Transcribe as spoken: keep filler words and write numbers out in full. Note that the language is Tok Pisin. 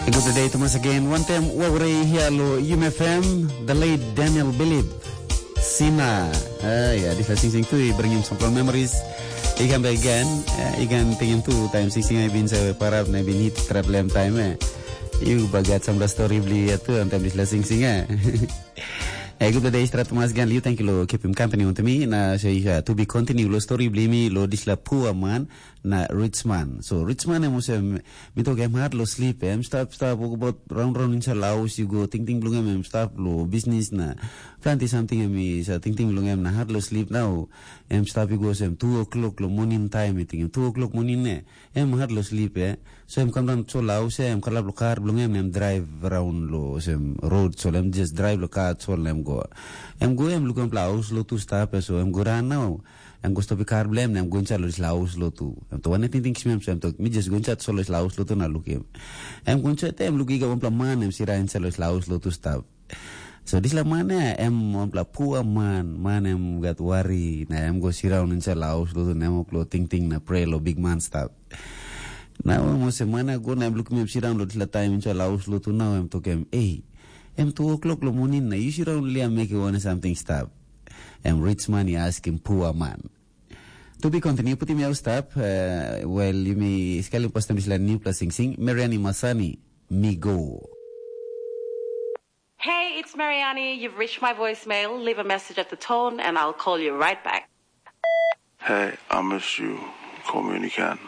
Good day to once again. One time, wawrei hia lo Yum F M, the late Daniel Bilib. Sina. Ah, ya, dispela singsing tu i bringim some fun memories. I come back again. Eh, I can tingim tu time singsing I bin sa parap na bin hit trap lem time eh. You bagat some story bli ya tu on time dispela singsing eh. Eh, good day, strat mas gan liu, thank you lo keep him company on to me. Na say uh, to be continue lo story bli mi lo disla poor man na rich man. So rich man em usem mi tok em hard lo sleep, em stap stap walk about round round inside la house, you go ting ting blung em, em stap lo business na planti something em is uh, ting ting blung em na hard lo sleep now. Em stap you go sem two o'clock lo morning time, I think two o'clock morning ne. Em hard lo sleep eh. So em kam down so la house em kalap lo kar blung em, em drive around lo sem road, so em just drive lo kar so em go. Em go em lukim pla house lo tu stap eh, so em go ran now. Em go stop kar blem na em go inside lo disla house lo tu. Em to wane ting ting kisim em, so em to mi just go inside so lo disla house lo tu na lukim. Em go inside em lukim ga wanpela man em sira inside lo disla house lo tu stap. So disla man ya em wanpela poor man, man em gat wari na em go siraun inside la house lo tu na em lo ting ting na pray lo big man stap. Na em olsem man ya go na em lukim em siraun lo disla taim inside la house lo tu na em tokim, ei, em two o'clock lo morning na yu siraun lia mekim wane something stap. Em rich man i askim poor man. To be continue, putim yau stap, uh, well, yumi skelim postem disla new plus sing sing, Mariani Masani, mi go. Hey, it's Mariani. You've reached my voicemail. Leave a message at the tone and I'll call you right back. Hey, I miss you. Call me when you can.